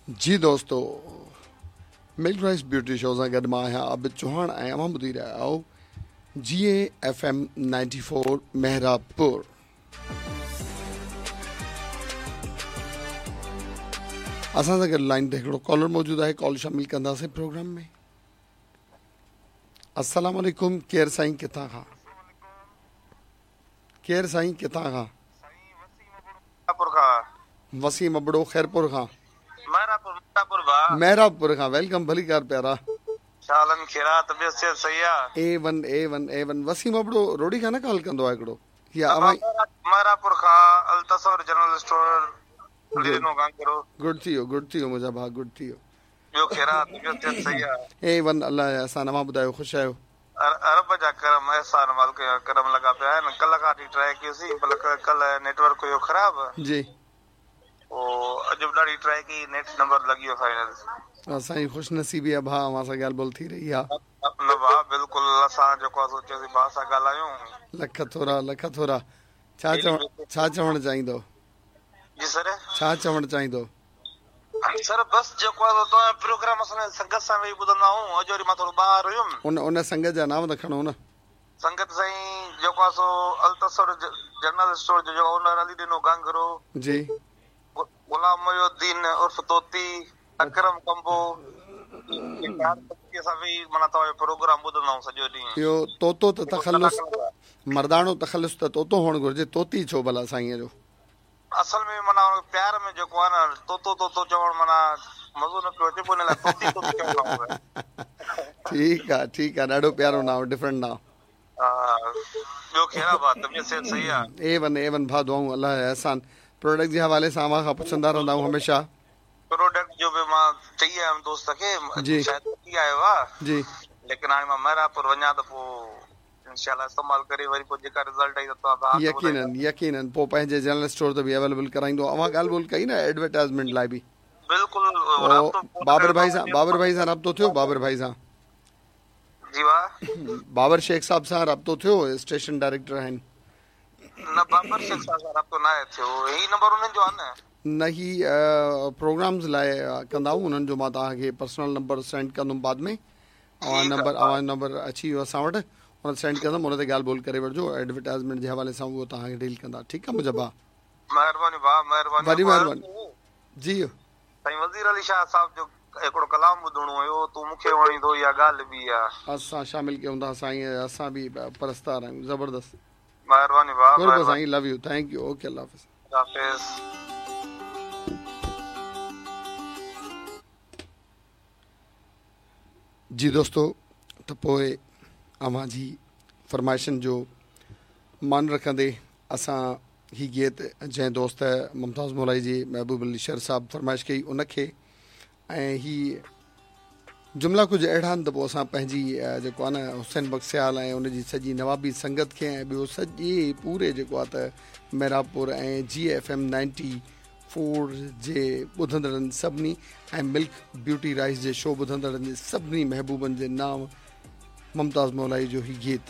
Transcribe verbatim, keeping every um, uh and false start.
जी दोस्तो, milk rice beauty show सां गॾु मां आहियां आबिद चौहान ऐं अव्हां ॿुधी रहिया आहियो G A F M ninety four Mehrabpur. असां सां गॾु लाइन ते हिकिड़ो कॉलर मौजूदु आहे, कॉल शामिल कंदासीं प्रोग्राम में। अस्सलाम वालेकुम, केरु साईं किथां खां? केरु साईं किथां खां? वसीम अबड़ो खैरपुर खां। मेहराबपुर खां। Welcome, भली कार प्यारा। A one A one A one. Waseem Abro Rohri खां न कॉल कंदो आहे हिकिड़ो या अव्हां? मेहराबपुर खां अल-तसव्वुर जनरल स्टोर। गुड थी वियो, गुड थी वियो मुंहिंजा भाउ, गुड थी वियो। ॿियो ख़ैर आहे, तबियत सिहत सही आहे? ए वन, अलाह जा एहसान। अव्हां ॿुधायो, ख़ुशि आहियो? रब जा करम, एहसान, मालिक जा करम लॻा पिया आहिनि। कल्ह खां वठी ट्राई कयोसीं, पर कल्ह नेटवर्क हुयो ख़राब जी, पोइ अॼु बि ॾाढी ट्राई कई, नेट नंबर लॻी वियो फाइनल। असांजी ख़ुशि नसीबी आहे भाउ, अव्हां सां ॻाल्हि ॿोल थी रही आहे। न भाउ, बिल्कुलु असां जेको आहे सोचियोसीं भाउ सां ॻाल्हायूं। लख थोरा, लख थोरा। छा चवण, छा चवणु चाहींदो? जी सर, छा चवणु चाहींदो? सर बस जेको आहे तव्हां प्रोग्राम असां संगत सां वेही ॿुधंदा आहियूं। अॼु वरी मां थोरो ॿाहिरि हुयुमि। उन उन संगत जा नाम त खणो न। संगत साईं जेको आहे सो अल-तसव्वुर जनरल स्टोर जो ओनर अली ॾिनो गांगरो जी, गुलाम मोहुद्दीन उर्फ तोती, अकरम कंबो, माना तव्हांजो प्रोग्राम ॿुधंदा आहियूं सॼो ॾींहुं। इहो तोतो त तख़ल्लुस, मर्दाणो तख़ल्लुस त तोतो हुअणु घुरिजे, तोती छो भला साईंअ जो? असल में माना प्यार में जेको आहे न तोतो तोतो चवणु माना मज़ो न पियो अचे, पोइ हिन लाइ तोती तोती चवंदा आहियूं। ठीकु आहे, ठीकु आहे, ॾाढो प्यारो नाम, डिफरेंट नाम। ॿियो ख़ैर आहे भाउ, तबियत सिहत सही आहे? ए वन, ए वन भाउ, दुआऊं, अलाह जा एहसान। प्रोडक्ट जे हवाले सां अव्हां खां पुछंदा रहंदा आहियूं हमेशह। प्रोडक्ट जो बि मां चई आयुमि दोस्त खे, शायदि वठी आयो आहे जी, लेकिन हाणे मां मेहराबपुर वञा त पोइ इंशाअल्लाह इस्तेमाल करे वरी पोइ जेका रिज़ल्ट आई त तव्हां यकीनन यकीनन पोइ पंहिंजे जनरल स्टोर ते बि अवेलेबल कराईंदो। अव्हां ॻाल्हि ॿोल कई न एडवर्टाइज़मेंट लाइ बि? बिल्कुलु। बाबर भाई सां, बाबर भाई सां राब्तो थियो? बाबर भाई सां जी वाह, बाबर शेख साहब सां राब्तो थियो? स्टेशन डायरेक्टर आहिनि। न, बाबर शेख साहब सां राब्तो न आहे थियो। ही नंबर उन्हनि जो आहे न? न, ही प्रोग्राम्स लाइ कंदा आहियूं उन्हनि जो। मां तव्हांखे पर्सनल नंबर सेंड कंदुमि बाद में। अव्हां नंबर, अव्हांजो नंबर अची वियो असां वटि, उन सेंड कंदुमि, उन ते ॻाल्हि ॿोल करे वठिजो। एडवर्टाइज़मेंट जे हवाले सां उहो तव्हांखे डील कंदा। ठीकु आहे मुंहिंजा भाउ, महिरबानी भाउ, महिरबानी, वॾी महिरबानी जी। साईं वज़ीर अली शाह साहब जो हिकिड़ो कलाम ॿुधणो हुयो, तूं मूंखे वणी थो, इहा ॻाल्हि बि आहे। असां शामिल कयूं था साईं, असां बि परस्तार आहियूं। ज़बरदस्त, महिरबानी भाउ, साईं, love you, thank you, okay, अल्लाह हाफ़िज़। हाफ़िज़। जी दोस्तो, त पोइ अव्हां जी फरमाइशनि जो मान रखंदे असां ही गीत जंहिं दोस्त मुमताज़ मौलाई जी महबूब अली शर साहब फरमाइश कई उनखे, ऐं ही जुमिला कुझु अहिड़ा आहिनि त पोइ असां पंहिंजी जेको आहे न हुसैन बख्सियाल ऐं उनजी सॼी नवाबी संगत खे ऐं ॿियो सॼे पूरे जेको आहे त मेहराबपुर ऐं G F M ninety four जे ॿुधंदड़नि सभिनी ऐं मिल्क ब्यूटी राइस जे शो ॿुधंदड़नि जे सभिनी महबूबनि जे नाम मुमताज़ मौलाई जो ही गीत।